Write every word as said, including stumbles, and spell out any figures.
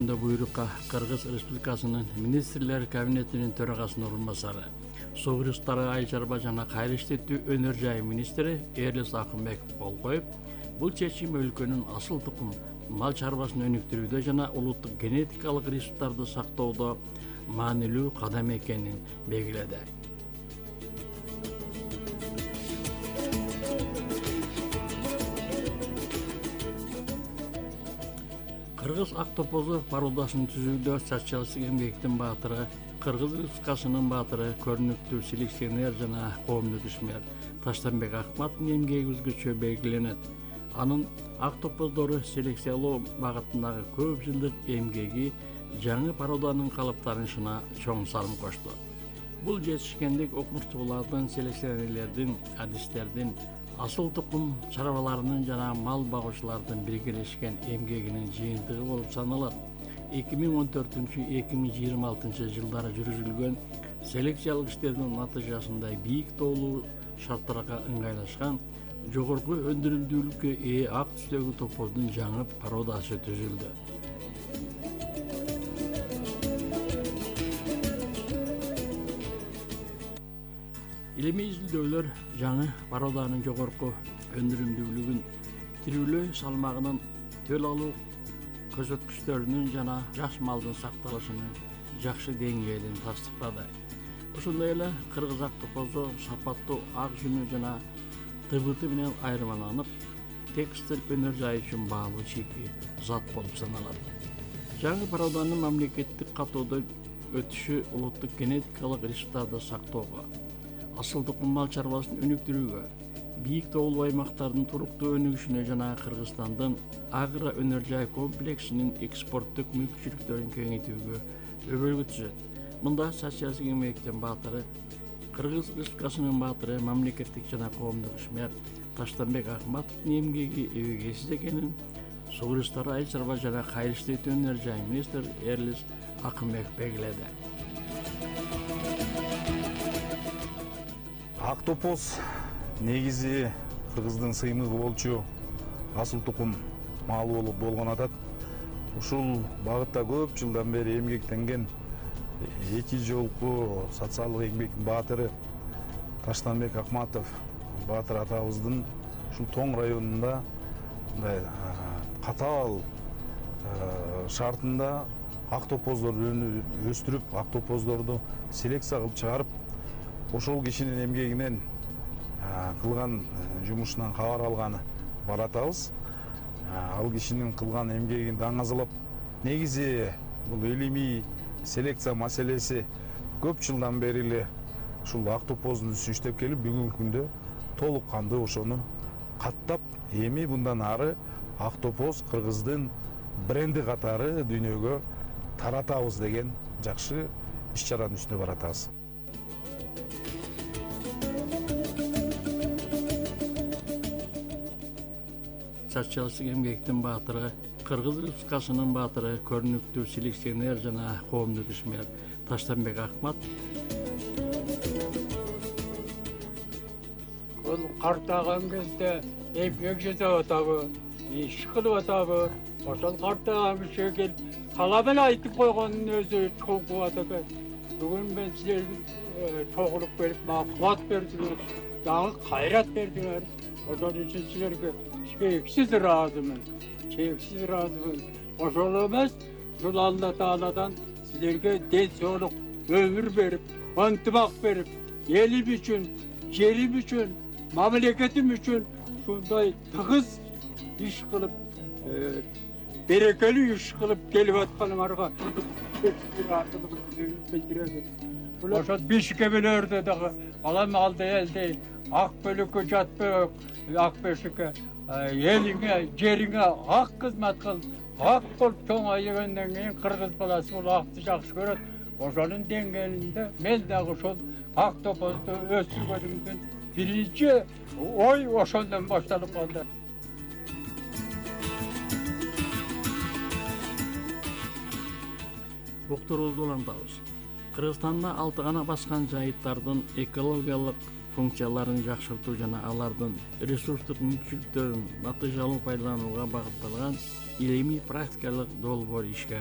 Буйрукка Кыргыз Республикасынын Министрлер Кабинетинин төрагасынын орун басары, суу ресурстары, ай чарба жана кайра иштетүү өнөр жайы министри Эрлис Акынбеков кол коюп, бул чечим өлкөнүн асыл тукум мал чарбасын өнүктүрүүдө жана улуттук генетикалык ресурстарды сактоодо маанилүү кадам экенин белгиледи. Кыргыз ак топозу пародасын түзүүдө социалисттик эмгектин баатыры, Кыргыз Республикасынын баатыры, көрүнүктүү селекционер жана коомдук ишмер Таштанбек Акматтын эмгеги өзгөчө белгиленет. Анын ак топоздору селекциялоо багытындагы көп жылдык эмгеги жаңы пароданын калыптанышына чоң салым кошту. Бул жетишкендик окумуштуулардын, селекционерлердин, адистердин, асыл тукум чарбаларынын жана мал багуучулардын биргелешкен эмгегинин жыйынтыгы болуп саналат. эки миң он төртүнчү — эки миң жыйырма алтынчы жылдары жүргүзүлгөн селекциялык иштердин натыйжасында бийик тоолуу шарттарга ыңгайлашкан, жогорку өндүрүмдүүлүккө ээ ак түстөгү топоздун жаңы пародасы түзүлдү. Илимий изилдөөлөр жаңы пароданын жогорку өндүрүмдүүлүгүн, тирүүлөө салмагынын, төл алуу көрсөткүчтөрүнүн жана жаш малдын сакталышынын жакшы деңгээлин тастыктады. Ошондой эле кыргыз ак топозу сапаттуу ак жүнү жана тыбыты менен айырмаланып, текстиль өнөр жайы үчүн баалуу чийки зат болуп саналат. Жаңы пароданын мамлекеттик катоодо өтүшү улуттук генетикалык ресурстарды сактоого, асыл тукум мал чарбасын өнүктүрүүгө, бийик тоолуу аймактардын туруктуу өнүгүшүнө жана Кыргызстандын агро өнөр жай комплексинин экспорттук мүмкүнчүлүктөрүн кеңейтүүгө өбөлгө түзөт. Мында социалисттик эмгектин баатыры, Кыргыз Республикасынын баатыры, мамлекеттик жана коомдук ишмер Таштанбек Акматтын эмгеги эбегейсиз экенин суу ресурстары, ай чарба жана кайра иштетүү өнөр жайы министри Эрлис Акынбеков белгиледи. Ак топоз негизи Кыргыздын сыймыгы болчу асыл тукум малы болуп болгон атат. Ушул багытта көп жылдан бери эмгектенген эки жолку социалдык эмгектин баатыры Таштанбек Акматов баатыр атабыздын ушул Тоң районунда мындай катаал шартында ак топоздорду өстүрүп, ак топоздорду селекция кылып чыгарып, ошол кишинин эмгегинен кылган жумушунан кабар алганы баратабыз. Ал кишинин кылган эмгегин даңазалап, негизи бул илимий селекция маселеси көп жылдан бери эле ушул ак топоздун үстүн иштеп келип, бүгүнкү күндө толук кандуу ошону каттап, эми мындан ары ак топоз Кыргыздын бренди катары дүйнөгө таратабыз деген жакшы иш чаранын үстүнө баратабыз. Социалисттик эмгектин баатыры, Кыргыз Республикасынын баатыры, көрүнүктүү селекционер жана коомдук ишмер Таштанбек Акмат Бул картаган кезде эмгек жасап атабы, иш кылып атабы, ошол картаган кишиге келип саламын айтып койгондун өзү чоң кубат экен. Бүгүн мен силерге чогулуп келип, мага кубат бердиңер, дагы кайрат бердиңер. Ошол үчүн силерге чексиз ыраазымын, чексиз ыраазымын. Ошол эмес, ушул Алла Тааладан силерге ден соолук өмүр берип, ынтымак берип, элим үчүн, жерим үчүн, мамлекетим үчүн ушундай тыгыз иш кылып, берекелүү иш кылып келип атканыңарга ошол бишкебелерде дагы алам алды элдей ак бөлөккө жатпай, ак бешикке элиңе, жериңе ак кызмат кыл, ак болуп чоңойгондон кийин кыргыз баласы бул акты жакшы көрөт. Ошонун деңгээлинде мен дагы ошол ак топозду өстүргөнүмдүн биринчи ой ошондон башталып калды. Уктуруубузду улантабыз. Кыргызстанда алты гана баскан жайыттардын экологиялык функцияларын жакшыртуу жана алардын ресурстук мүмкүнчүлүктөрүн натыйжалуу пайдаланууга багытталган илимий практикалык долбоор ишке